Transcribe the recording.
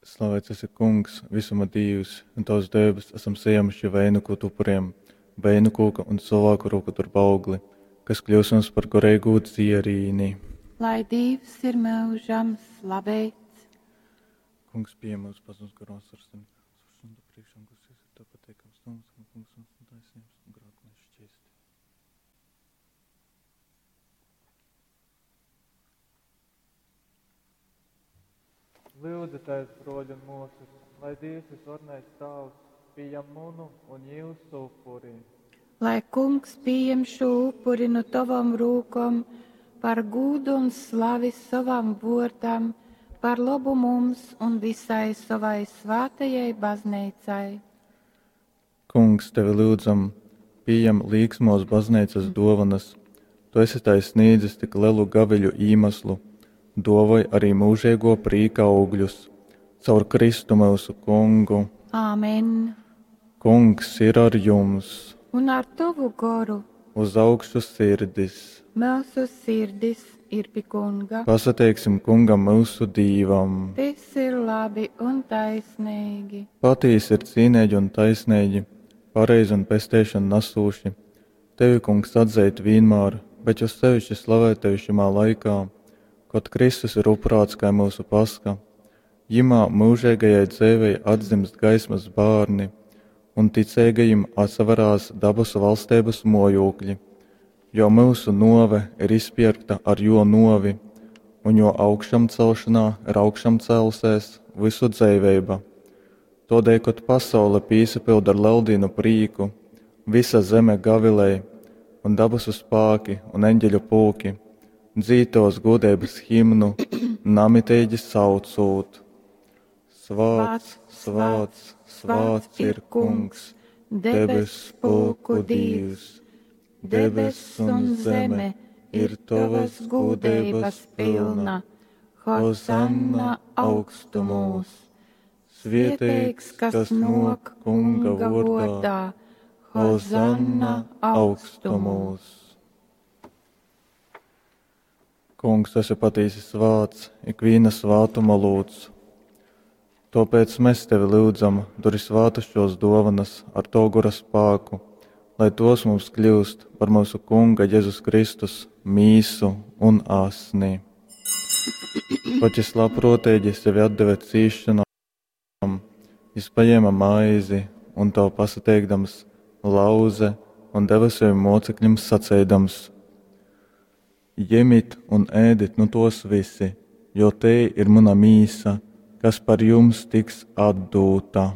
Slavēts esi Kungs, visuma Dīvs, un tavs dēbes esam saņēmuši vainagot upuriem, vainagūka un cilvēku roku darba augli, kas kļūs mums par garīgu dzierīni. Lai Dievs ir mūžam slavēts. Kungs pieņem mūsu pazemes garos ar sevi. Sundu priekšā, kas ir tev pateikams, mums, un kungs mums un taisnības un grēku mēs šķisti. Lūdzieties, broļi un mūsas, lai Dievs visvarenais Tēvs pieņem munu un jūsu upuri. Lai kungs pieņem šo upuri no tavam rūkom par gūdu un slavi savam vārdam, par labu mums un visai savai svētajai baznīcai. Kungs, tevi lūdzam, pieņem līksmos baznīcas dovanas. Tu esi tai sniedzis tik lielu gaviļu īmeslu, dovoj arī mūžīgo prīka augļus. Caur Kristu mūsu kungu. Āmen! Kungs ir ar jums, Un ar tavu goru uz augšu sirdis. mūsu sirdis ir pie kunga. Pasateiksim kungam mūsu dīvam. Tas ir labi un taisnīgi. Patīsi ir cīnīgi un taisnīgi, pareizi un pesteišanu nesūši. Tevi, kungs, atzīt vienmēr, bet jo sevišķi slavēt tevi šimā laikā, kad Kristus ir upurāts kā mūsu paska. Jimā mūžīgajai dzīvei atdzimst gaismas bērni, un ticīgajiem atsaverās dabasu valstības mojūkļi, jo mūsu nove ir izpirkta ar jo novi, un jo augšām celšanā ir augšām cēlusies visu dzīvība. Todēļ, kad pasaule pīsapilda ar leldīnu prīku, visa zeme gavilēja, un dabasu spāki un eņģeļu pulki, dzītos godības himnu, namitīgi saucūt. Svāts, svāts, svāts ir kungs, debes pulku Dievs, debes un zeme ir tavas gudrības pilna. Hozanna augstumos! Svētīgs, kas nāk kunga vārdā, Hozanna augstumos! Kungs, esi patiesi svāts, ikviena svātuma lūdz. Tāpēc mēs tevi lūdzam, duri svātas šos dovanas ar to gora spēku, lai tos mums kļūst par mūsu Kunga Jēzus Kristus mīsu un asni. Pat jis labprātīgi sevi atdeva cīšanām, jis paņēma maizi un to pasateikdams lauze un deva saviem mocekļiem sacēdams: Ņemiet un ēdit nu tos visi, jo te ir mana mīsa, kas par jums tiks atdūta.